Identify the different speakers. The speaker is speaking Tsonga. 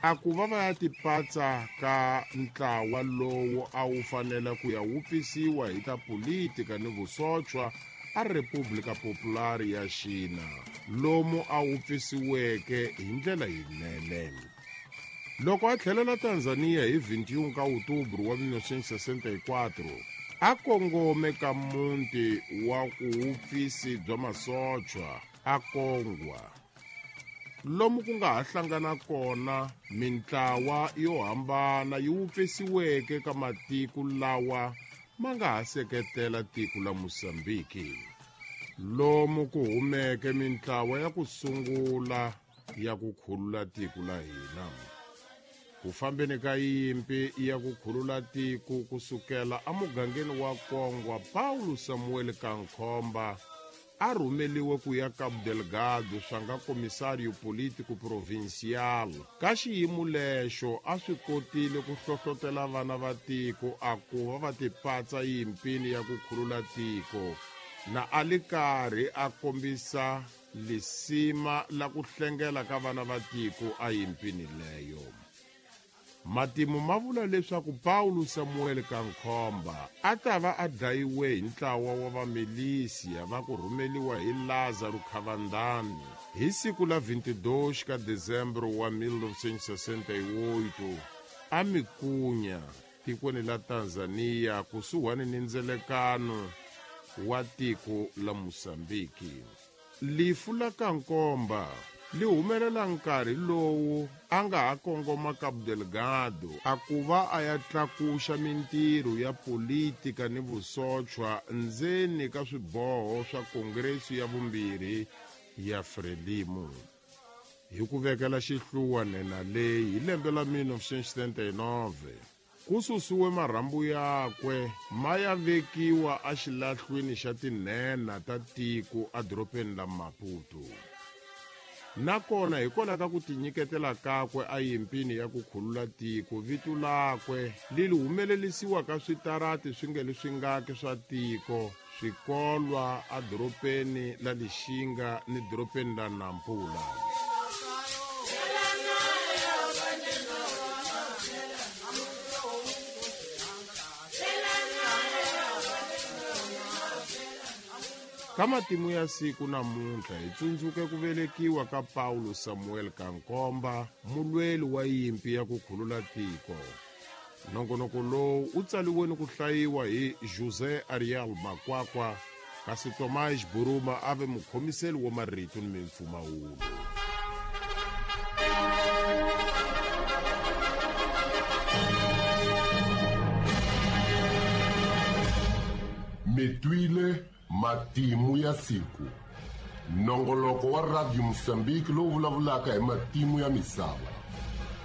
Speaker 1: A ku va va ya tipatsa ka ntlawa lowu a wu fanele ku ya wupfisiwa hi ta politika ni vusochwa a República Popular ya Xina, lomu a wupfisiweke hi ndlela yinene. Loko a tlhelela Tanzania hi 21 ka Outubro wa 1964, a kongome ka muti wa ku wupfisi bya masochwa a Kongwa, lomu ku nga ha hlangana kona mintlawa yo hambana yi wupfisiweke ka matiko lawa ma nga ha seketela tiko la Mozambiki, lomu ku humeke mintlawa ya ku sungula ya ku khulula tiko la hina. Ku fambeni ka yimpi ya ku khulula tiko ku sukela emugangeni wa Kongwa, Paulo Samuel Kankhomba a rhumeliwe ku ya Cabo Delgado swa nga Comissário Político Provincial. Ka xiyimo lexo a swi kotile ku hlohlotela vana va tiko a ku va va tipatsa yimpini ya ku khulula tiko, na a li karhi a kombisa lisima la ku hlengela ka vana va tiko a yimpini leyo. Matimu ma vula leswaku Paulo Samuel Kankhomba a ta va a dlayiwe hi ntlawa wa vamilisiya va ku rhumeliwa hi Lázaro Cavandani hi siku la 22 ka Dezembro wa 1968 a Mikunya, tikweni la Tanzania, kusuhani ni ndzelekano wa tiko la Mozambiki. Lifu la Kankomba li humelela nkarhi lowu a nga ha kongoma Cabo Delgado a ku va a ya tlakuxa mintirho ya politika ni vusochwa ndzeni ka swiboho swa Kongresu ya vumbirhi ya Frelimo. Hi ku vekela xihluwa nhenha leyi hi lembe la 1979, Ku susiwe marhambu yakwe ma ya vekiwa exilahlwini xa tinhenha ta tiko edorobeni la Maputo. Nakona hikwalaho ka ku tinyiketela kakwe eyimpini ya ku khulula tiko, vito lakwe li humelerisiwa ka switarati swi nge li swingaki swa tiko, swikolwa edorobeni la Lixinga ni dorobeni la Nampula. Ka matimu ya siku namuntlha hi tsundzuke ku velekiwa ka Paulo Samuel Kankomba, mulweli wa yimpi ya ku khulula tiko. Nongonoko lowu wu tsaliwe ni ku hlayiwa hi José Ariel Makwakwa, kasi Tomás Buruma a ve mukhomiseli wa marito ni mimpfumawulo.
Speaker 2: Mi twile matimu ya siku, nongoloko wa Radio Mozambique lowu vulavulaka hi matimu ya misava.